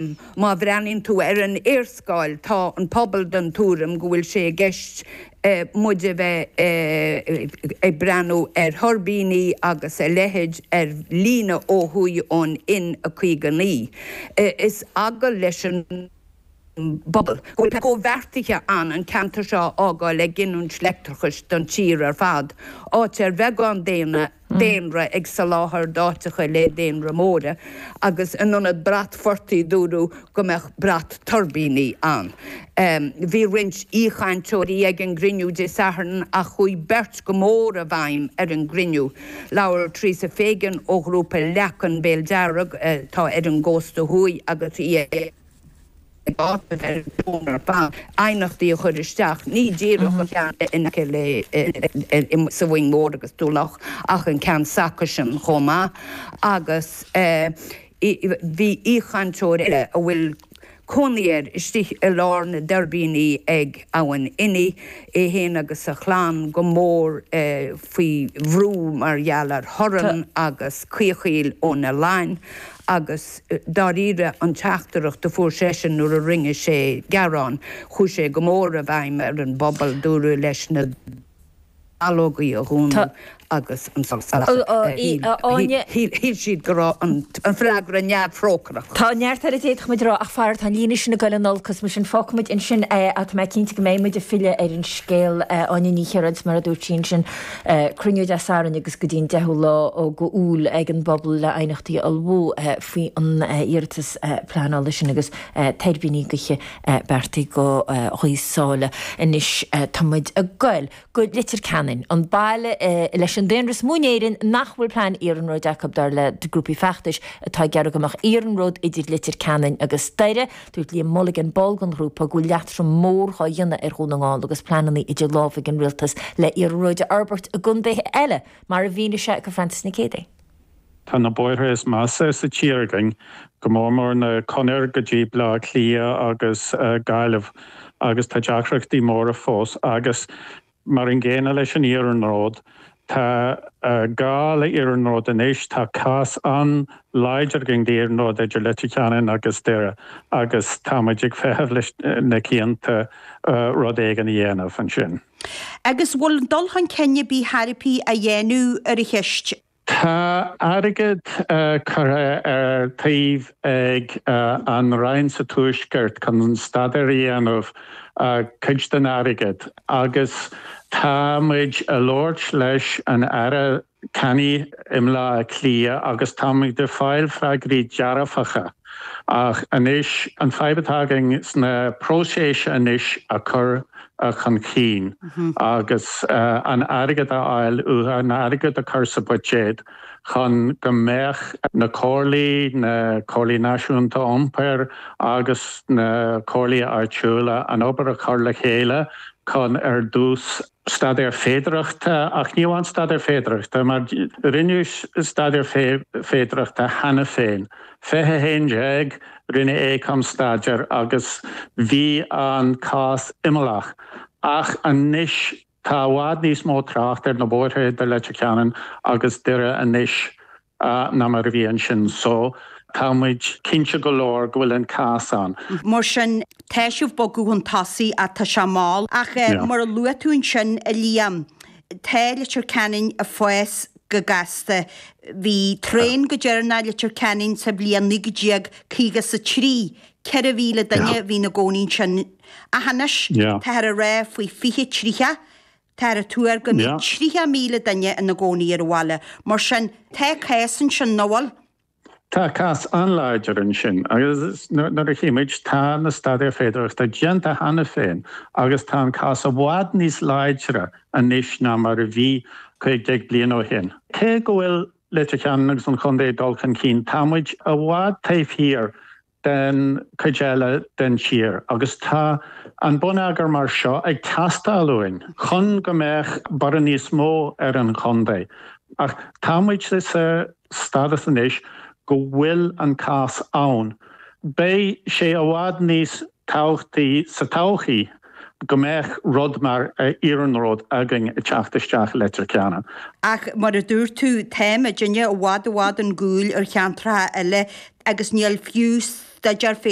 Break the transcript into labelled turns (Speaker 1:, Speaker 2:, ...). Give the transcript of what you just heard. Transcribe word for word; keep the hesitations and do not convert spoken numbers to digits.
Speaker 1: Má bhreathnaíonn tú ar an léarscáil, tá an pobal den tuairim go bhfuil sé i gceist muid a bheith ag breathnú ar thuirbíní agus a leithéid ar líne ó thuaidh ón N a caoga naoi. Is eagal leis an bpobal go bhfuil comhbheartaithe ann an ceantar seo a fhágáil ag giniúint leictreachais don tír ar fad, áit ar bheagán daonna daonra ag soláthar d'áiteacha le daonra móra, agus in ionad brat phortaigh dúradh go mbeadh brat tuirbíní ann. Bhí roinnt aoichainteoirí ag an gcruinniú Dé Sathairn ach chuaigh beirt go mór i bhfeidhm ar an gcruinniú. Labhair Teresa Fagan ó ghrúpa Leacan Béal Dearg atá ar an gcósta thuaidh agus í ag ag áiteamh ar an bhfón ar fad aighneachtaí a chur isteach, ní díreach an ceann in aice le sa Mhoing Mhór agus Tulach ach an ceann s'acusan chomh maith agus bhí aoichainteoir eile a bhfuil cónaí air istigh i lár na dtuirbíní ag Abhainn Inny, é féin agus a chlann go mór faoi bhrú mar gheall ar thorann agus caochaíl ó na lain. Agus dáiríre an teachtaireacht a fuair seisean nuair a rinne sé gearán, chuaigh sé go mór i bhfeidhm ar an bpobal, dúradh leis na dallógaí a dhúnadh agus an solas a lasadh. Shíl siad go raibh an freagra neamhthrócaireach.
Speaker 2: Tá neart eile a d'fhéadfadh muid a rá ach faraor tá an líne sin ag dul in olcas, mar sin fágfaidh muid ansin é ach tá mé cinnte go mbeidh muid ag filleadh ar an scéal. Áine Ní Chiaráin, mar a dúirt sí ansin, cruinniú Dé Sathairn agus go dtí an deichiú lá d'Iúil ag an bpobal le aighneachtaí a ullmhú faoi an iarratas pleanála sin agus tuirbíní gaoithe beartaithe do Ghaoth Sáile. Anois tá muid ag goil go Leitir Ceanainn, an baile leis an daonra is mó in Éirinn nach bhfuil plean iarnróid acu, dar le grúpaí feachtais atá ag iarraidh go mbeadh iarnród idir Leitir Ceanainn agus Doire. Dúirt Liam Mulligan, ball den ghrúpa, go bhfuil leatrom mór dhá dhéanamh ar Dhún na nGall agus pleananna idir lámha ag an rialtas le iarnróid a fhorbairt i gcontaetha eile, mar a mhínigh sé do Frances Nic Géadaigh.
Speaker 3: Tá na bóithre is measa sa tír againn, go mór mór na conair go dtí Baile Átha Cliath agus Gaillimh agus tá deacrachtaí móra fós agus mar an gcéanna leis an iarnród, tá gá le iarnród anois, tá cás an-láidir againn d'iarnród idir Leitir Ceanainn agus Doire agus tá muid ag feitheamh leis na cianta rud éigin a dhéanamh ansin.
Speaker 4: Agus bhfuil dul chun cinn ar bith chor ar bith á dhéanamh ar an cheist?
Speaker 3: Tá airgead curtha ar taobh ag an Roinn sa Tuaisceart chun staidéar a dhéanamh, cuid den airgead, agus tá muid ag labhairt leis an Aire Canney i mBaile Átha Cliath agus tá muid ag fáil freagraí dearfacha. Ach anois, an fadhb atá againn sna próiseas anois a chur chun cinn agus an airgead a fháil uathu, an airgead a chur sa bhuiséad chun go mbeadh na comhairlí, na comhairlí náisiúnta iompair agus na comhairlí áitiúla an obair a chur le chéile chun ar dtús staidéar féidearthachta, ach ní amháin staidéar féidearthachta, mar rinneadh staidéar féidearthachta cheana féin. fiche a haon déag, rinne Aecom staidéar agus bhí an cás imeallach. Ach anois tá i bhfad níos mó trácht ar na bóithre idir Leitir Ceanainn agus Doire anois ná mar a bhí ansin. So, tá muid cinnte go leor go bhfuil an cás ann.
Speaker 4: Mar sin, tá sibh ag bogadh chun tosaigh ach tá sé mall. Ach mar a luaigh tú ansin, a Liam, tá Leitir Ceanainn ag fás go gasta. Bhí traein go deireanach i Leitir Ceanainn sa bhliain naoi déag caoga is a trí. Ceithre mhíle duine a bhí ina gcónaí ansin. Ach anois, táthar ag rá faoi fiche tríocha, táthar ag tuar go mbeidh tríocha míle duine ina gcónaí ar an bhaile. Mar sin, tá cás ansin, nach bhfuil?
Speaker 3: Tá cás an-láidir ansin agus nuair a chí muid, tá na staidéir féidearthachta déanta cheana féin agus tá an cás i bhfad níos láidre anois ná mar a bhí cúig déag bliain ó shin. Cé go bhfuil Leitir Ceanainn agus an chontae ag dul chun cinn, tá muid i bhfad taobh thiar den chuid eile den tír agus tá an bonneagar mar seo ag teastáil uainn chun go mbeadh borradh níos mó ar an chontae. Ach tá muid sa stádas anois go bhfuil an cás ann. Beidh sé i bhfad níos tábhachtaí sa todhchaí go mbeadh rud mar iarnród againn ag teacht isteach i Leitir Ceanainn.
Speaker 4: Ach mar a dúirt tú, tá muidinne i bhfad i bhfad chun cúil ar cheantracha eile agus níl fiú staidéar féidir